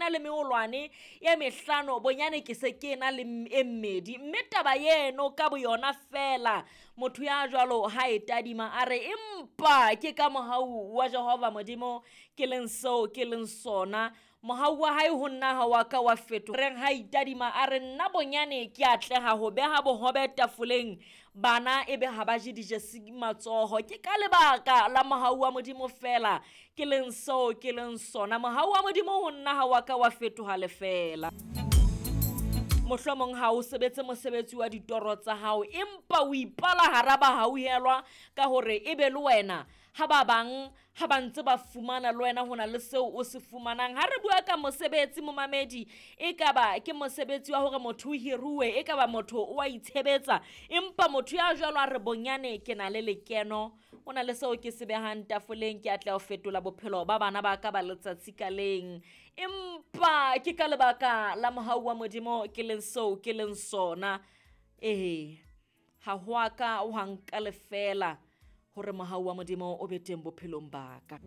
ena le meolwane e mehlano, bonyane ke se ke ena le e mmedi. Mme taba eno ka boyona fela, motho ya jwalo ha e tadima a re empa ke ka mohau wa Jehova Modimo ke leng seo ke leng sona. Mohau wa hae ho nna ha wa ka wa fetoha. Reng ha itadima a re nna bonyane ke atleha ho beha bohobe tafoleng, bana ebe ha ba je dijesi matsoho. Ke ka lebaka la mohau wa Modimo fela ke leng seo ke leng sona. Mohau wa Modimo ho nna ha wa ka wa fetoha lefeela. Mohlomong ha o sebetse mosebetsi wa ditoro tsa hao, empa o ipala hara bahauhelwa ka hore ebe le wena ha ba bang ha ba ntse ba fumana le wena ho na le seo o se fumanang. Ha re bua ka mosebetsi momamedi, e kaba ke mosebetsi wa hore motho o hiruwe, e kaba motho o a itshebetsa, empa motho ya jwalo a re bonyane ke na le lekeno, o na le seo ke se behang tafoleng, ke atleha ho fetola bophelo ba bana ba ka ba letsatsi ka leng. Empa ke ka lebaka la mohau wa Modimo ke leng seo ke leng sona. Ee, ha ho a ka wa nka lefeela hore mohau wa Modimo o be teng bophelong ba ka.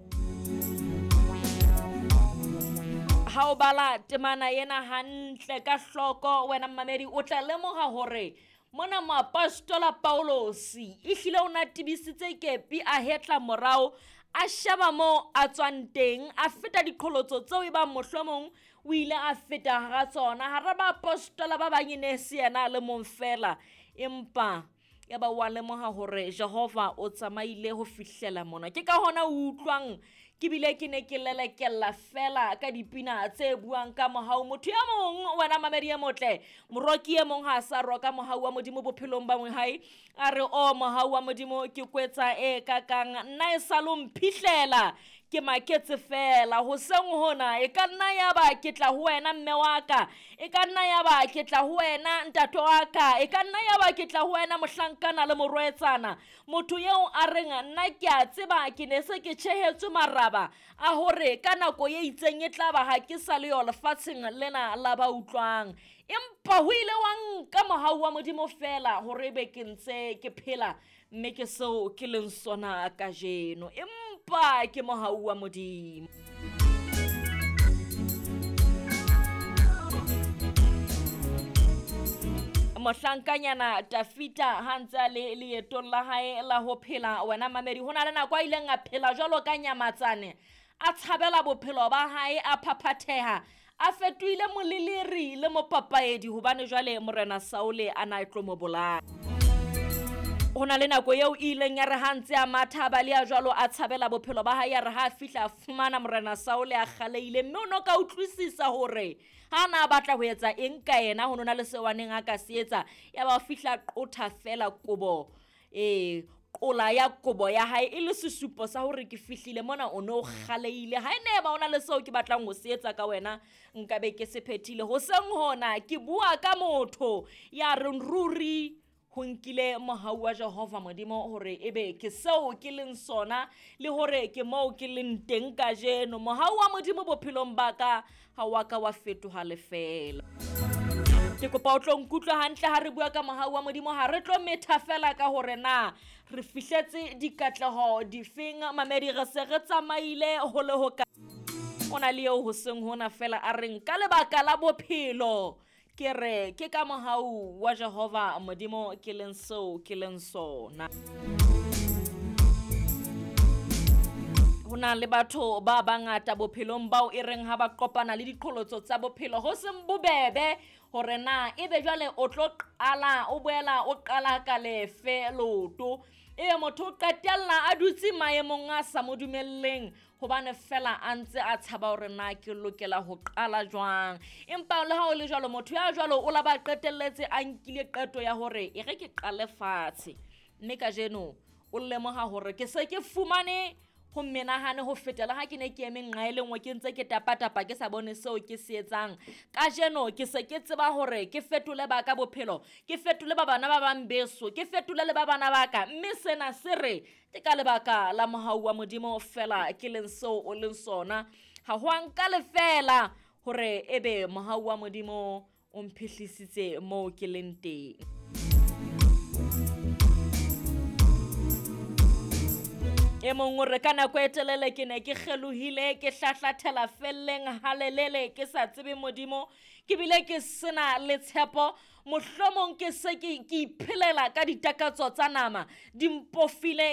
Ha o bala temana ena hantle ka hloko wena mmamedi, o tla lemoha hore mona moapostola Paulosi ehlile o na tebisitse kepi, a hetla morao, a sheba moo a tswang teng, a feta diqholotso tseo e bang mohlomong o ile a feta hara tsona. Hara baapostola ba bang e ne se yena a le mong fela, empa ya ba wa lemoha hore Jehova o tsamaile ho fihlela mona. Ke ka hona o utlwang ke bile ke ne ke lelekella fela ka dipina tse buang ka mohau. Motho ya mong wena mamedi e motle, moroki e mong ha a sa roka mohau wa Modimo bophelong ba hae, a re o mohau wa Modimo ke kwetsa e kakang, nna e sa lo mphihlela, ke maketse fela. Hoseng hona e ka nna ya ba ke tla ho wena mme wa ka, e ka nna ya ba ke tla ho wena ntate wa ka, e ka nna ya ba ke tla ho wena mohlankana le morwetsana. Motho eo a reng nna ke a tseba ke ne se ke tjhehetswe maraba a hore ka nako e itseng e tla ba ha ke sa le yo lefatsheng lena la ba utlwang, empa ho ile wa nka mohau wa Modimo fela hore ebe ke ntse ke phela, mme ke seo ke leng sona kajeno, empa ke mohau wa Modimo. Mohlankanyana Tafita ha ntse a le leetong la hae la ho phela, wena mamedi, ho na le nako a ileng a phela jwalo ka nyamatsane, a tshabela bophelo ba hae, a phaphatheha, a fetohile moleleri le mopapaedi, hobane jwale morena Saule a na tlo mo bolaya. Ho na le nako eo e ileng ya re ha ntse a matha ba le ya jwalo a tshabela bophelo ba hae, ya re ha a fihla a fumana morena Saule a kgaleile, mme o no ka utlwisisa hore ha na batla ho etsa eng ka yena, ho nona le seo a neng a ka se etsa. Ya ba o fihla qotha fela kobo, qola ya kobo ya hae e le sesupo sa hore ke fihlile mona, o no kgaleile. Ha e ne ba ona le seo ke batlang ho se etsa ka wena, nka be ke se phethile. Hoseng hona ke bua ka motho ya reng ruri ho nkile mohau wa Jehova Modimo hore ebe ke seo ke leng sona, le hore ke moo ke leng teng kajeno. Mohau wa Modimo bophelong ba ka ha wa ka wa fetoha lefeela. Ke kopa o tlo nkutlwe hantle ha re bua ka mohau wa Modimo, ha re tlo metha fela ka hore na re fihletse dikatleho difeng. Mamedi, re se re tsamaile ho le ho ka. O na le eo hoseng hona fela a reng ka lebaka la bophelo ke re ke ka mohau wa Jehova Modimo ke leng seo ke leng sona. Ho na le batho ba bangata bophelong bao e reng ha ba kopana le diqholotso tsa bophelo ho seng bobebe hore na ebe jwale o tlo qala o boela o qala ka lefe loto, ebe motho o qetella a dutse maemong a sa mo dumelleng hobane fela a ntse a tshaba hore na ke lokela ho qala jwang. Empa le ha o le jwalo, motho ya jwalo o la ba qetelletse a nkile qeto ya hore e re ke qale fatshe, mme kajeno o lemoha hore ke se ke fumane ho menahane ho feta le ha ke ne ke eme nqa e le nngwe ke ntse ke tapatapa ke sa bone seo ke se etsang. Kajeno ke se ke tseba hore ke fetole ba ka bophelo, ke fetole ba bana ba bang beso, ke fetole le ba bana ba ka, mme sena se re ke ka lebaka la mohau wa Modimo fela ke leng seo o leng sona. Ha ho a nka lefeela hore ebe mohau wa Modimo o mphihlisitse moo ke leng teng. E mong o re ka nako e telele ke ne ke kgelohile, ke hlahlathela felleng halelele, ke sa tsebe Modimo, ke bile ke sena le tshepo. Mohlomong ke se ke iphelela ka ditakatso tsa nama, di mpofile.